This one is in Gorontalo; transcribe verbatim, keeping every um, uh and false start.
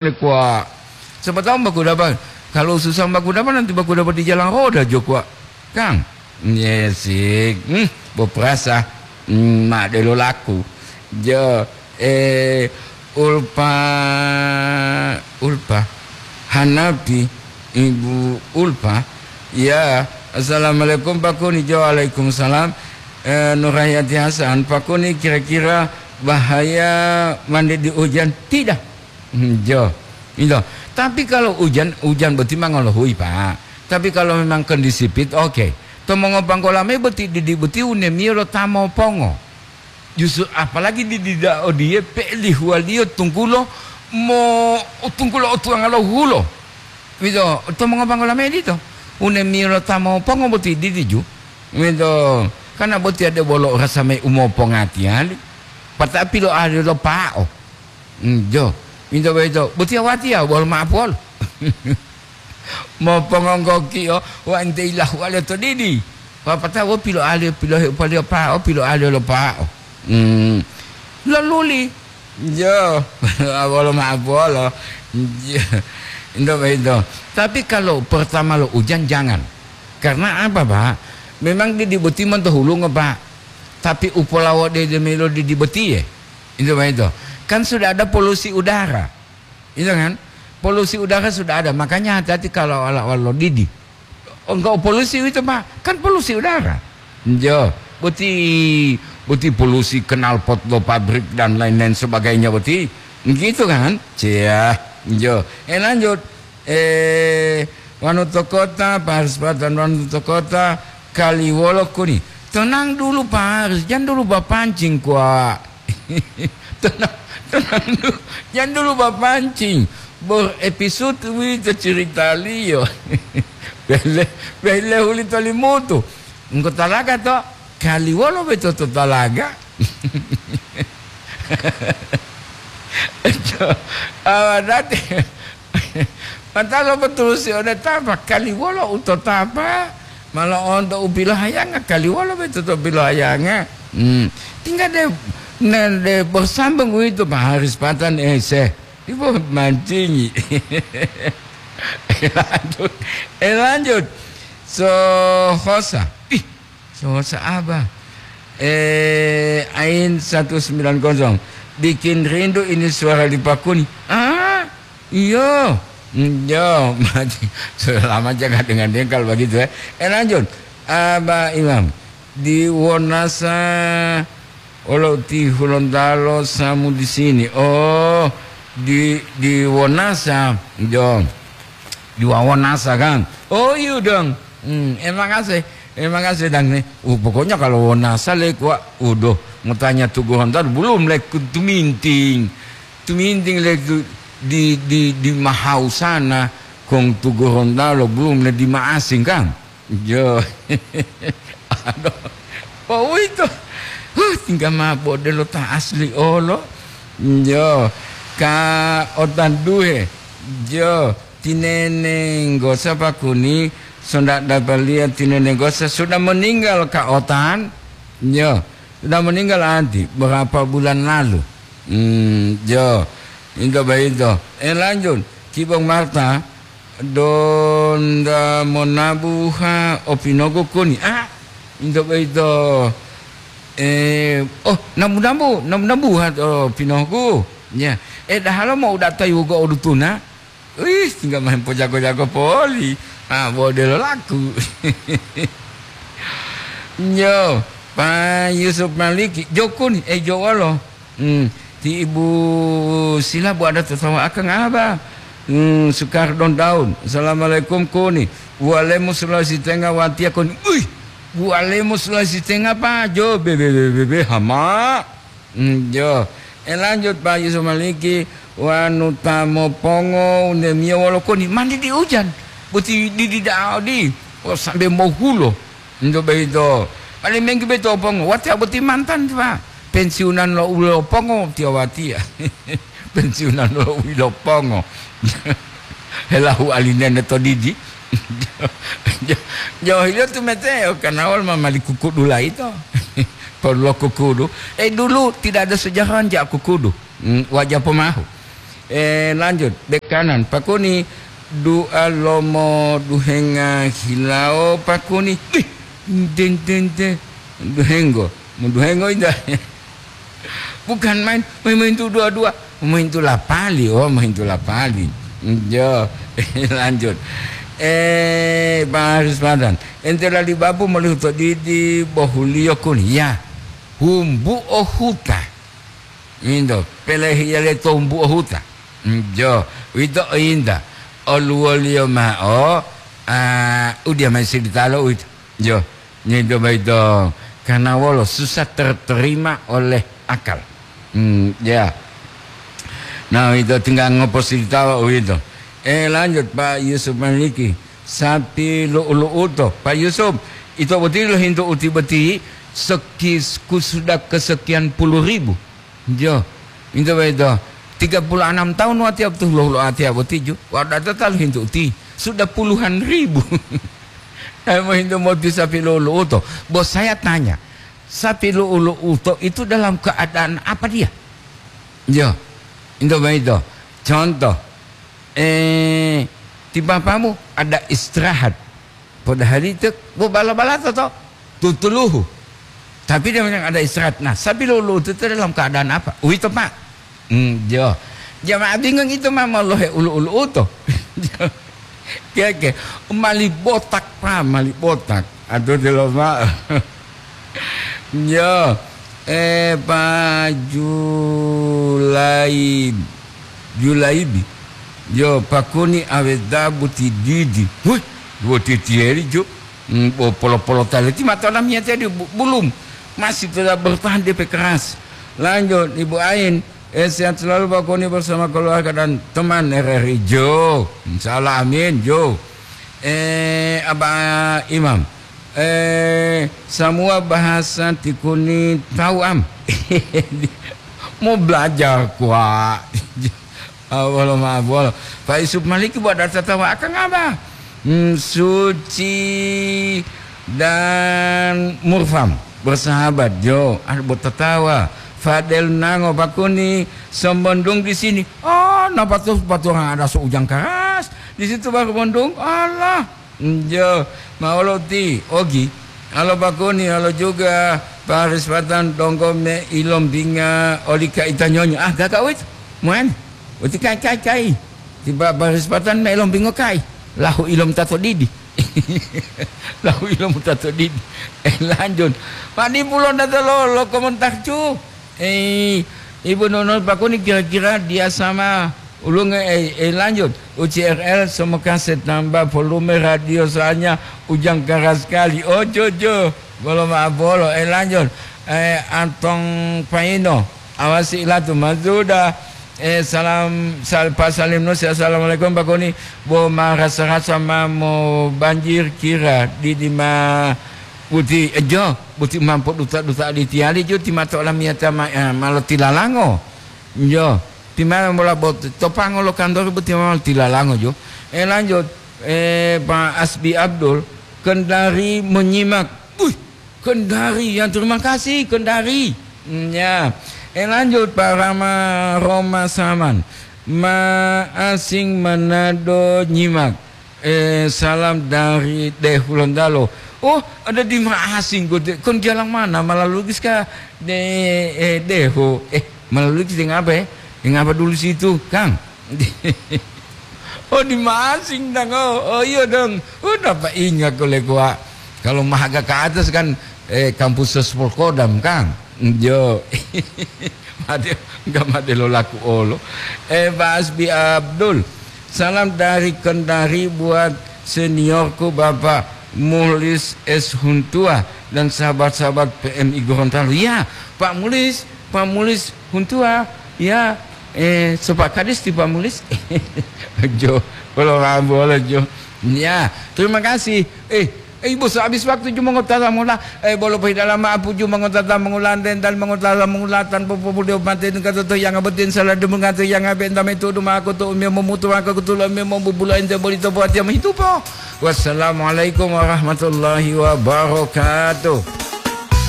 Kuwa. Siapa tahu baku dapat. Kalau susah baku dapat, nanti baku dapat di jalan roda jo kuwa. Kang. Yes, hmm, boprasa. Hmm, ma delo laku. Jo, eh, Ulpa, Ulpa. Hanapi, Ibu Ulpa. Ya, assalamualaikum Pak Kuni. Jo, waalaikumsalam. Eh, Nurhayati Hasan, Pak Kuni kira-kira bahaya mandi di hujan? Tidak. Hmm, jo. Ito. Tapi kalau ujan, ujan boti ma ngolohuyi, Pak. Tapi kalau memang kondisi pit, oke. To mongopanggola mayi boti didi boti unemiyo lo ta mopongo. Justru apalagi didi da odiye pe'elihuwaliyo tunggulo mo, tunggulo otuwanga lo hulo. Ito, to mongopanggola mayi dito. Unemiyo lo ta mopongo boti didi ju. Ito, karena boti ade bolo rasa mayi umopongatiyali. Patapi lo ade lo pa'o. Hmm, jo. Pinto boyito, botiya watiya wolo ma'apuwolo. Mopongonggokiyo wa ente ilahuwaliyo to didi. Wapatao wo piloaliyo, pilohe upaliyo pa'o, piloaliyo lo pa'o. Hmm. Loluli. Jo. Wolo ma'apuwolo. Jo. Pinto boyito. Tapi kalau pertama lo ujan, jangan. Karena apa, Pak? Memang didi boti monto hulungo, Pak. Tapi upolawode demelo didi botiye. Itu begitu. Kan sudah ada polusi udara. Itu kan? Polusi udara sudah ada. Makanya hati-hati kalau awal-awal lo didi. Enggak polusi itu, Pak. Kan polusi udara. Jo, boti, boti polusi knalpot lo pabrik dan lain-lain sebagainya boti. Gitu kan? Cia. Jo. Eh, lanjut. Eh, wanu to kota, Pak Haris Patan, wanu to kota, kaliwolo kuni. Tenang dulu, Pak Haris, jangan dulu bapancing, kuwa. Tenang, tenang dulu, jangan dulu bapancing. Bor episode wito ceritaliyo. Bele, bele huli tolimutu. Engko talaga to, kaliwolo beto to talaga. Awa dati. Mata lo betusi ode tapa, kaliwolo u to tapa, malo onto u pilohayanga, kaliwolo beto to pilohayanga. Hmm. Tinggal de, ne, de bersambung itu Pak Haris Patan, eh, se. Ibu mancingi. Eh, lanjut. Eh, lanjut. So, hosa. Ih, Sosa Abah. Eh, Ain satu sembilan kosong. Bikin rindu ini suara Lipa Kuni. Ah, iyo. Hmm, yo, sudah lama jangan dengar-dengar kalau begitu, ya. Eh, lanjut. Abah Imam. Di Wonasa, olo ti Hulontalo samu di sini. Oh, di, di Wonasa. Yo. Di Wawonasa, kan? Oh, iya dong. Hmm, emang ase, emang ase dang nih. Uh, pokoknya kalau Wonasa le kuwa, uduh, mau tanya Tugu Hontar belum le ku tuminting. Tuminting le tu, di, di, di Mahau sana, kong Tugu Hontalo belum le di Maasing, kan? Jo. Aduh. Pau itu. Huh, tinggal mabo de lo ta asli olo. Jo. Ka otan duhe. Jo. Tinenenggosa Pak Kuni, sonda dapaliya tinenenggosa sudah meninggal Kak Otan. Yo, sudah meninggal anti berapa bulan lalu. Hmm, yo, itu begitu. Eh, lanjut, Kibong Marta, donda monabuha opinogu kuni. Ah, itu begitu. Eh, oh, nabu-nabu, nabu-nabuha opinogu. Ya, eh, dahalo mau datai wugo odutuna. Wih, tinggal main pojago-jago poli. Ah, bo delo laku. Yo, Pak Yusuf Maliki, jokun, eh, jowolo. Hmm, ti Ibu Sila bu ada tertawa akang apa? Hmm, Sukardon Daun. Assalamualaikum, Kuni. Bualemu Sulawesi Tengah, watia, Kuni. Wih, bualemu Sulawesi Tengah, Pak. Jo, be, be, be, be, be, hama. Hmm, jo. Eh, lanjut, Pak Yusuf Maliki, wanu ta mopongo, undemiyo wolo koni, mandi di ujan. Boti di, di da'a odi. Oh, sambe mohulo. Ndo beito. Paling menggi beito pongo. Watiya boti mantan, Pak. Pensiunan lo ulo pongo, tiya watiya. Pensiunan lo ulo pongo. Helahu alinene to didi. Jo, jo, hilo tu mete, o, karena awal ma mali kukudu laito. Perlu kukudu. Eh, dulu tidak ada sejarah jak kukudu. Hmm, wajah pemahu. Eh, lanjut, bek kanan, pakuni, dua lomo duhenga hilawo, pakuni. Ih, den, den, den. Duhenggo, mau duhengo inda. Bukan main, main, main tu dua-dua, main tu lapali, oh, main tu lapali. Yo, lanjut. Eh, Pak Haris Madan, ente lali babu molihu to didi bohuliyo kuni, ya. Humbu o huta. Indo, pelehiya le to humbu o huta. Mm, jo, uwito inda. Oluwoliyo ma'o, ah, udiya mayi silitalo uwito. Jo, ngindo boyito, karena wolo susah terterima oleh akal. Hmm, ya. Nah, uwito tinggal ngoposilitawa uwito. Eh, lanjut, Pak Yusuf Maliki. Sapi lu'u-lu'uto. Pak Yusuf, ito boti lohintu uti boti, seki-, ku sudah kesekian puluh ribu. Jo, ito boyito. Tiga puluh enam tahun watiya betul lo, lo atiya boti ju. Wadah total hintu uti. Sudah puluhan ribu. Saya mau hintu mau di sapi lu'u-lu'uto. Bos saya tanya, sapi lu'u-lu'uto itu dalam keadaan apa dia? Jo, ito boyito. Contoh, eh, ti bapamu ada istirahat. Padahal itu, bu bala-bala to, to. Tutuluhu. Tapi dia memang ada istirahat. Nah, sapi lu'u-lu'uto itu dalam keadaan apa? Uwito, Pak. Hmm, jo. Jamaah bingung itu, ma, molohe ulu-ulu'uto. Keke, mali botak, Pak, mali botak. Aduh, delo, Pak. Yo, eh, Pak Julaib-, Julaibi. Yo, pakuni aweda buti didi. Wih, buti tieri, ju. Hmm, bo polo-polo tali. Ti mata lamiyati di bu-, bulum. Masih tetap bertahan, D P keras. Lanjut, Ibu Ain. Eh, sehat selalu, Pak Koni, bersama keluarga dan teman R R I, jo. Insya Allah, amin, jo. Eh, Aba Imam. Eh, semua bahasa tikuni tahu, am. Mau belajar, kuak. Ah, wolo, maaf, wolo. Pak Yusuf Maliki buat data tawa akang apa? Hmm, Suci dan Murfam bersahabat, jo. Ah, buat tatawa. Fadel Nango, Pak Koni, sembondong di sini. Oh, napa tuh batu orang ada seujang keras? Di situ baru bondong. Allah. Njo, ma olo ti, ogi. Alo bakoni, alo juga, Pak Haris Patan, donggo me ilombinga oli kaita nyonyo. Ah, gaga wit. Muan. Uti kai, kai, kai. Tiba Pak Haris Patan me ilombingo kai. Lahu ilom tato didi. Lahu ilom tato didi. Eh, lanjut. Mani pulo data lo, lo komentar cu. Eh, Ibu Nunul Pakuni kira-kira dia sama ulunge, eh, eh, lanjut. U C R L semoga setambah volume radio soalnya ujang keras sekali. Oh, jo, jo. Bolo maaf bolo. Eh, lanjut. Eh, Antong Paino. Awasi ilatu mazuda. Eh, salam, sal-, Pak Salim Nusi. Assalamualaikum, Pak Koni. Bo marasa-rasa ma mo banjir kira di, di ma Buti, eh, jo, buti mampo duta-duta aditiyali jo ti mato olamiyata ma-, eh, ma lotilalango. Jo, ti ma mola bot-, topango lo kantor buti ma lotilalango jo. Eh, lanjut, eh, Pak Asbi Abdul, Kendari menyimak. Wih, Kendari, yang terima kasih, Kendari. Hmm, ya. Eh, lanjut, Pak Rama Roma Saman. Ma asing Manado nyimak. Eh, salam dari De Hulontalo. Oh, ada di ma asing kok, De. Kon jalan mana? Malalugis kah? De, eh, Deho. Eh, Malalugis dengan apa, eh? Dengan apa dulu situ, Kang? Oh, di ma asing, Dang. Oh, oh, iya, Dang. Oh, dapat ingat ko le, kuak. Kalau mahaga ke atas kan, eh, kampus Sespol Kodam, Kang. Jo. Mate, enggak mate lo laku olo. Eh, Pak Asbi Abdul. Salam dari Kendari buat seniorku Bapak Mulis S Huntua dan sahabat-sahabat P M I Gorontalo. Ya, Pak Mulis, Pak Mulis Huntua. Ya, eh, Sopak Kadis ti Pak Mulis. Jo, bolo rambu, bolo jo. Ya, terima kasih. Eh, Eh, Ibu, sehabis waktu ju mongotata mula, eh, bolo pohidala ma'apu ju mongotata mongulante, dan mongotata mongulatan, popobuliyo mate, nungka toto yanga botin, salah dumunga to yanga benta metudu mako to umio momutu mako kutulo umio mobubulo ente boli to buat yang mehitupo. Wassalamualaikum warahmatullahi wabarakatuh.